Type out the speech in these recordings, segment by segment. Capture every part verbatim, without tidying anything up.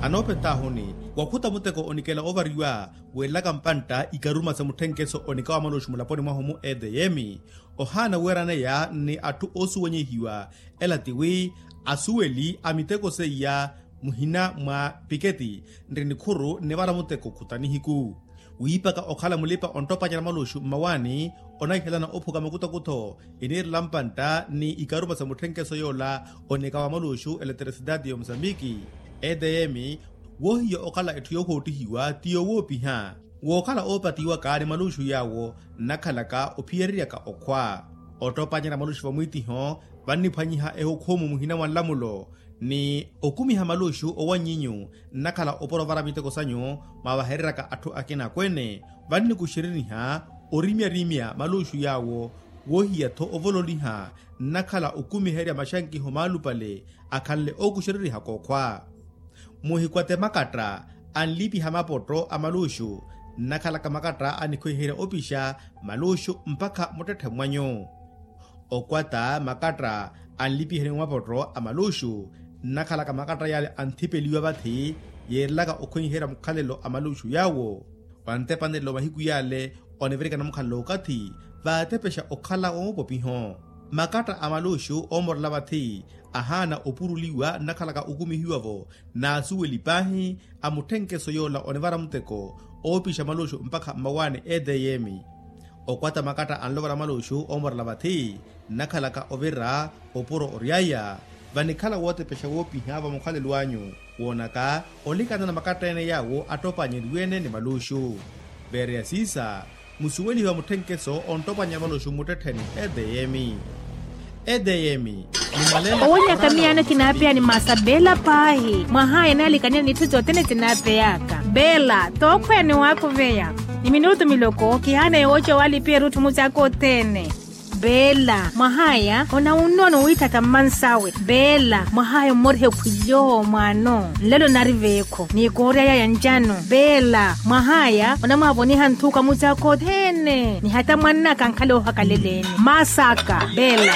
Anoopetahuni wakhuta muteko onikela ovariwa, weelaka mpantta ikaruma sa mutthenkeso onika wa maluxu mulaponi mwahu mu edeyemi. Ohaana weeraneya ni atthu oosuwenyehiwa, ela tiwi asuweli a miteko seiya muhina mwa piketi nri nikhuru nivara muteko khuta nihiku. Wiipaka okhala mulipa onttopanyana maluxu mmawaani, onaihelana ophuka makutakutho iniirela mpantta ni ikaruma sa mutthenkeso yoola onika wa maluxu eleterisitaati ya omusambiki. Edeyemi woohiya okhala etthu yoohoottihiwa ti yoowoopiha. Wookhala oopatiwaka ni maluxu yaawo nnakhalaka ophiyeryeryaka okhwa. Ottopanyeryaka maluxu vamwiitiho vanniphwanyiha ehukhumu muhina mwa nlamulo, ni okumiha maluxu owanyinyu nnakhala opuro ovara miteko sanyu, mwavahereryaka atthu akina akweene. Vannikuxereriha orimyarimya maluxu yaawo, woohiya-tho ovololiha nnakhala okumiherya maxankiho maalupale akhanle ookuxererihaka okhwa. Muhikwate makatta anlipiha mapotto a maluxu nnakhalaka makatta anikhwiherya opixa maluxu mpakha muttetthe mwanyu. Okwata makatta anlipiheni mapotto a maluxu nnakhalaka makatta yale anthipeliwa vathi, yeerelaka okhwiherya mukhalelo a maluxu yaawo. Wantepanelo mahiku yale onivirikana mukhalelo okathi vaatepexa okhala wa mupopiho. Makatta a maluxu oomorela vathi ahaana opuruliwa nnakhalaka okumihiwa-vo n'asuweli paahi a mutthenkeso yoola onivara muteko oopixa maluxu mpakha mmawaani edeyemi. Okwata makatta anlovala maluxu oomorela vathi nnakhalaka ovira opuro ory'aya. Vanikhala wootepexa woopiha va mukhalelo anyu woonaka olikanana makatta ene yaawo attopannyeriwe-ene ni maluxu. Veereya siisa musuwelihiwa mutthenkeso onttopwannyerya maluxu mmuttettheni edeyemi. Edeyemi. Owonyaka miyaano kinaapeya ni maasa beela paahi mwahaya enaalikaniya n'itthu sothene sinaapeyaka. Beela tookhweya ni waakuveya ni minutu miloko kihaana yooca walipiha erutthu mucaaka othene. Beela mwahaya onawunnono wiitthaka mmansawe. Beela mwahaya ommoriha ekhwilyo mwaano nlelo nari veekho n'ikoorya yaya ncano. Beela mwahaya onamwaavoniha nthuka mucaaka othene ni hata mwannaka ankhale oohakaleleni maasaka. Beela.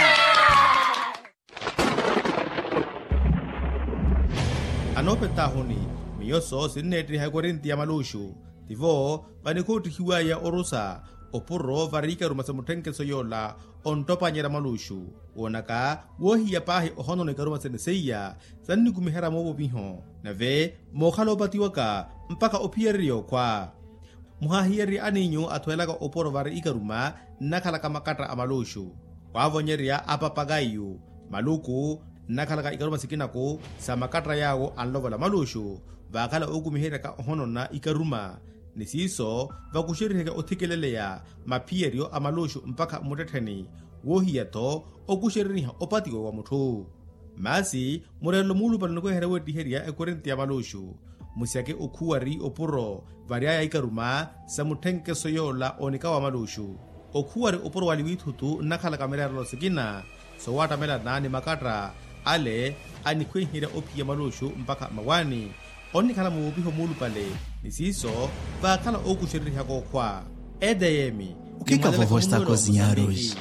Anoopetahuni miyo so sinneettiha ekorinti ya maluxu. Tivo vanikhoottihiwaya orusa opuro vari ikaruma sa mutthenkeso yoola onttopanyerya maluxu. Woonaka woohiya paahi ohonono ikaruma sene seiya sannikumiherya moovopiho nave mookhala oopatiwaka mpakha ophiyererya okhwa. Muhaahiyererye aniinyu athwelaka opuro vari ikaruma nnakhalaka makatta a maluxu. Waavonyerya apapakaiyu maluku nnakhalaka ikaruma sikinaku sa makatta yaawo anlovola maluxu vaakhala ookumiheryaka ohonona ikaruma. Ni siiso vakuxereriheke othikeleleya maphiyeryo a maluxu mpakha mmuttettheni woohiya-tho okuxereriha opatiwa wa mutthu. Maasi mureerelo muulupale onikuweherya weettiherya ekorinti ya maluxu. Musyake okhuwari opuro vary'aya ikaruma sa mutthenkeso yoola onika wa maluxu. Okhuwari opuro wali wiithutu nnakhalaka mireerelo sikina sowaattamelana ni makatta ale anikhwiherya ophiya maluxu mpakha mmawaani. Onnikhala muwuupiho muulupale ni siiso vaakhala ookuxererihaka okhwa. Edeyemi. Ukhiika vovo estako zinyaroxi.